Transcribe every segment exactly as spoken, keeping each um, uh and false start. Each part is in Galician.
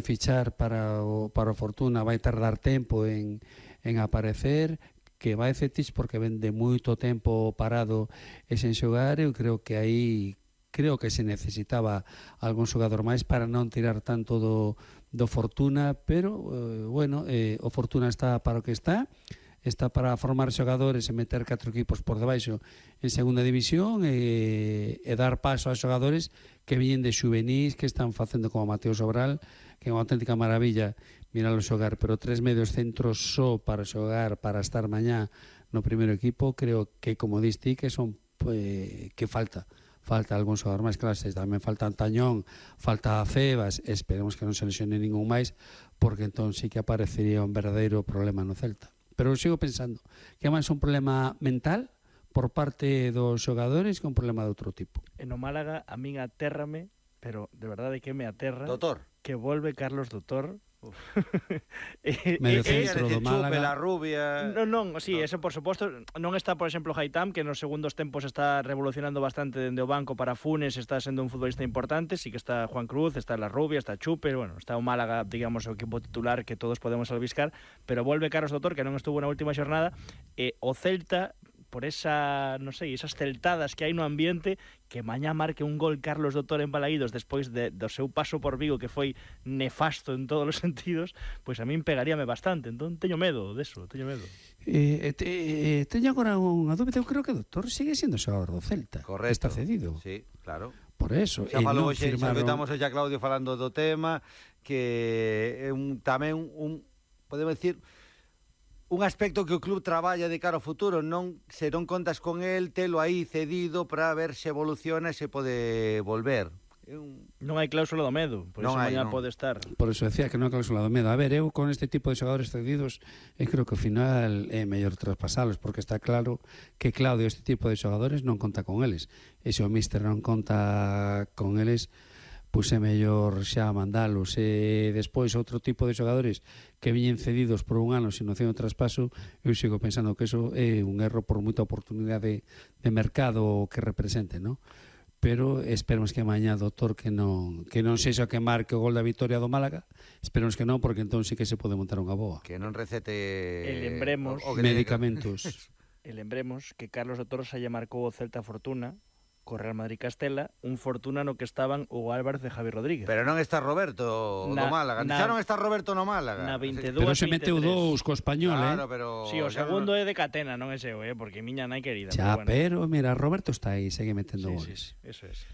fichar para o, para o Fortuna vai tardar tempo en, en aparecer, que vai cetis porque ven de moito tempo parado e sen xogar. Eu creo que aí creo que se necesitaba algún xogador máis para non tirar tanto do, do Fortuna, pero eh, bueno, eh, o Fortuna está para o que está, está para formar xogadores e meter catro equipos por debaixo en segunda división e, e dar paso a xogadores que viñen de xuvenís, que están facendo como Mateo Sobral, que é unha auténtica maravilla miralo xogar, pero tres medios centros só para xogar, para estar mañá no primeiro equipo, creo que, como diste, que son pues, que falta falta algún xogador máis clases, tamén falta Antañón, falta Febas, esperemos que non se lesione ningún máis, porque entón sí que aparecería un verdadeiro problema no Celta. Pero eu sigo pensando que é máis un problema mental por parte dos xogadores que un problema de outro tipo. En o Málaga a min atérrame, pero de verdade que me aterra, Doutor, que volve Carlos Doutor. Medio centro do Málaga. La rubia. Non, non, sí, eso por suposto. Non está, por exemplo, Haitam, que nos segundos tempos está revolucionando bastante dende o banco para Funes, está sendo un futbolista importante. Sí que está Juan Cruz, está La Rubia, está Chupe, bueno, está o Málaga, digamos, o equipo titular que todos podemos albiscar, pero volve Carlos Doutor, que non estuvo na última xornada, e o Celta, por esa, non sei, esas celtadas que hai no ambiente, que mañá marque un gol Carlos Doutor en Balaídos despois de, do seu paso por Vigo, que foi nefasto en todos os sentidos, pois a min pegaríame bastante. Entón teño medo deso, teño medo. Eh, te, eh, teño agora unha dúbida. Eu creo que o Doutor sigue sendo xogador do Celta. Correcto. Está cedido. Sí, claro. Por eso. Xa falou hoxe, firmaron... estamos xa Claudio falando do tema, que é un, tamén un, podemos decir, un aspecto que o club traballa de cara ao futuro. Non, se non contas con el, telo aí cedido para ver se evoluciona e se pode volver. Un... Non hai cláusula do medo, por non iso hai, mañá non. pode estar. Por eso decía que non hai cláusula do medo. A ver, eu con este tipo de xogadores cedidos, eu creo que ao final é mellor traspasalos, porque está claro que Claudio este tipo de xogadores non conta con eles. E se o míster non conta con eles, pois é mellor xa mandalos. E despois outro tipo de xogadores que viñen cedidos por un ano sin opción de traspaso, eu sigo pensando que eso é un erro por moita oportunidade de mercado que represente, non? Pero esperemos que mañá, Doutor, que non que non sexa que marque o gol da vitoria do Málaga. Esperemos que non, porque entón sí que se pode montar unha boa. Que non recete E lembremos o, o que medicamentos. E lembremos que Carlos Doutor xa lle marcou o Celta Fortuna co Real Madrid Castela, un Fortuna no que estaban o Álvarez e Javi Rodríguez. Pero non está Roberto na, no Málaga. Na, Xa non está Roberto no Málaga. Na veintidós, pero se meteu dous co Español, claro, eh? Pero sí, o segundo no... é de Catena, non é seu, eh? Porque miña nai querida. Xa, pero, pero bueno. mira, Roberto está aí, segue metendo sí, goles. Sí, eso es.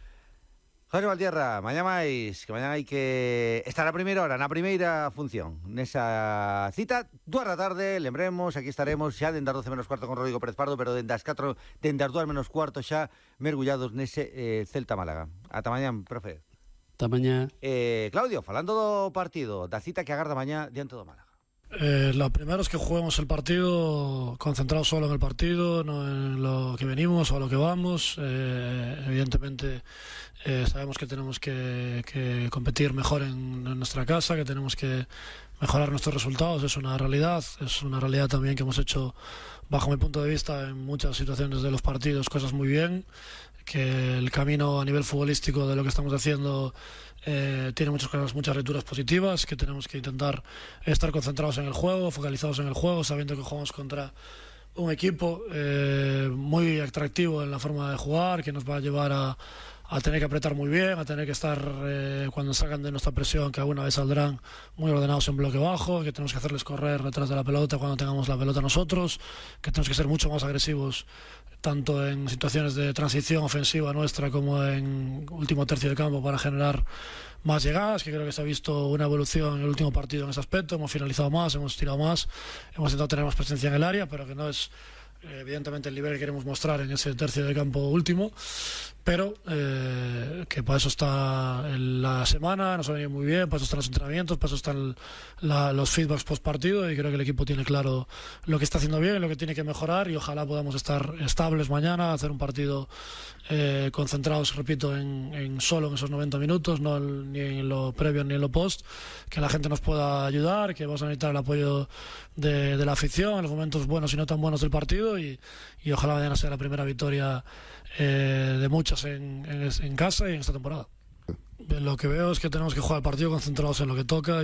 José Valtierra, mañá máis, que mañá hai que estar a primeira hora, na primeira función, nesa cita, dúas da tarde, lembremos, aquí estaremos xa dende as doce menos cuarto con Rodrigo Pérez Pardo, pero dende as catro, dende as dúas menos cuarto xa mergullados nese eh, Celta Málaga. Ata mañá, profe. Ata mañá. Eh, Claudio, falando do partido, da cita que agarda mañá diante do Málaga. Eh, lo primero es que juguemos el partido concentrados solo en el partido, no en lo que venimos o a lo que vamos. Eh, evidentemente eh, sabemos que tenemos que, que competir mejor en, en nuestra casa, que tenemos que mejorar nuestros resultados, es una realidad, es una realidad también que hemos hecho, bajo mi punto de vista, en muchas situaciones de los partidos cosas muy bien, que el camino a nivel futbolístico de lo que estamos haciendo Eh, tiene muchas cosas, muchas lecturas positivas, que tenemos que intentar estar concentrados en el juego, focalizados en el juego, sabiendo que jugamos contra un equipo eh, muy atractivo en la forma de jugar, que nos va a llevar a, a tener que apretar muy bien, a tener que estar eh, cuando salgan de nuestra presión, que alguna vez saldrán muy ordenados en bloque bajo, que tenemos que hacerles correr detrás de la pelota cuando tengamos la pelota nosotros, que tenemos que ser mucho más agresivos tanto en situaciones de transición ofensiva nuestra como en último tercio de campo para generar más llegadas, que creo que se ha visto una evolución en el último partido en ese aspecto. Hemos finalizado más, hemos tirado más, hemos intentado tener más presencia en el área, pero que no es evidentemente el nivel que queremos mostrar en ese tercio de campo último, pero eh, que para eso está en la semana, nos ha venido muy bien, para eso están los entrenamientos, para eso están la, los feedbacks post partido, y creo que el equipo tiene claro lo que está haciendo bien, lo que tiene que mejorar, y ojalá podamos estar estables mañana, hacer un partido eh, concentrados, repito, en, en solo en esos noventa minutos, no ni en lo previo ni en lo post, que la gente nos pueda ayudar, que vamos a necesitar el apoyo de, de la afición en los momentos buenos y no tan buenos del partido, y, y ojalá mañana sea la primera victoria eh, de muchas en, en, en casa y en esta temporada. Lo que veo es que tenemos que jugar el partido concentrados en lo que toca.